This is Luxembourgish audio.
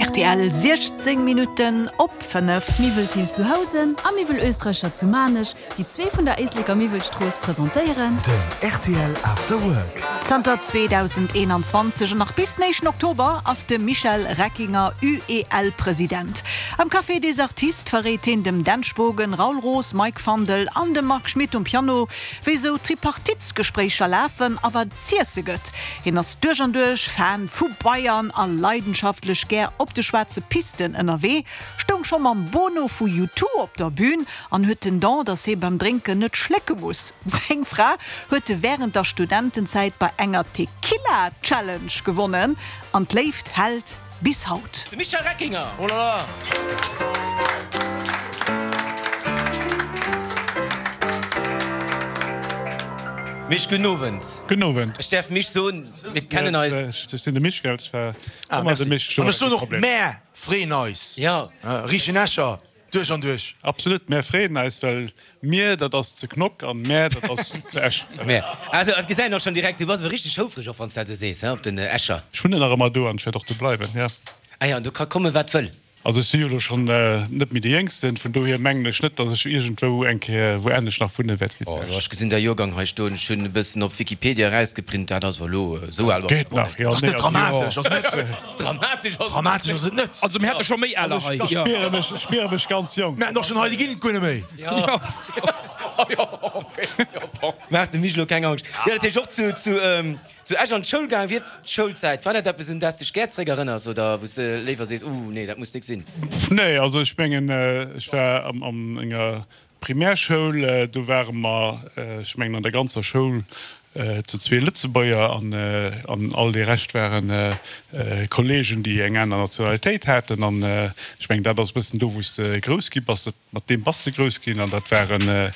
Rtl, 16 Minutten op 5. Miwwel Thill zu Housen a Miwwel Oesträcher zu Maarnech, déi zwee vun der Éisleker Miwwelstrooss presentéieren. Den rtl After Work. Zanter 2021 an nach bis den éischten Oktober ass de Michel Reckinger UEL-President. Am Café des Artistes verréit hien dem Dan Spogen, Raoul Roos, Mike Fandel an dem Marc Schmitt um Piano, wéi sou Tripartitesgespréicher lafen a wat et z'iesse gëtt. Hien ass duerch an duerch Fan vu Bayern a leidenschaftlech gär op de schwaarze Pisten ënnerwee, stoung scho mam Bono vu U2 op der Bün an huet den Don, dass hie beim Drénken net schlécke muss. Seng Fra huet e wärend der Studentenzäit bei enger Tequila-Challenge gewonnen an d'Léift hält bis haut. De Michel Reckinger. Oh la la! Mich, gudden Owend. Gudden Owend. Ech däerf Mich soen, mir kennen eis. Ech sinn de Mich, gell? Ech war ëmmer de Mich. An ech soen och, mär freeën eis. Jo. Richen Escher. Duerch an duerch. Absolut, mär freeën eis, well mir, dat ass zu Knock an mär, dat ass zu Esch. Mär. Also, et gesäit een och schonn direkt, du bass awer richteg houfreg och, wann s dat esou sees, he, op den Escher. Ech wunnen nach ëmmer do an ech wäert och do bleiwen, jo. Ah jo, an do ka kommen, wat wëll. Also ech si jo elo schonn net méi de Jéngsten, vun dohier mengen ech net, datt ech iergendwou eng Kéier wou anescht nach wunne wäert wéi zu Oh jo, Esch. ech gesinn däi Joergang hei stoen, ech hunn e bëssen op Wikipedia erausgeprint, dat ass awer elo esou al Geet nach, jo. Ass net dramatesch, ass net. Dramatesch ass et Dramatesch ass et net. Also mir hätte scho méi aler hei. Ech spiere mech, ech spiere mech ganz jonk. Mir hätten och schonn hei, déi ginn et guer net méi. Maach dem Mich elo keng Angscht. Jo, dat heescht och zu, zu, zu Esch an d'Schoul gaangen. Wéi d'Schoulzäit, war dat eppes un dat s dech gär zeréck erënners oder wou s de léiwer sees, Ooh, nee, dat muss nik sinn? Nee, also ech mengen, ech war am, an enger Primärschoul, do ware mer, ech mengen an der ganzer Schoul zu zwee Lëtzebuerger an all dee Rescht ware Kollegen, déi eng aner Nationalitéit haten. An ech mengen, dat ass e bëssen do, wou s de grouss gi bass, mat deem bass de grouss ginn. An dat waren.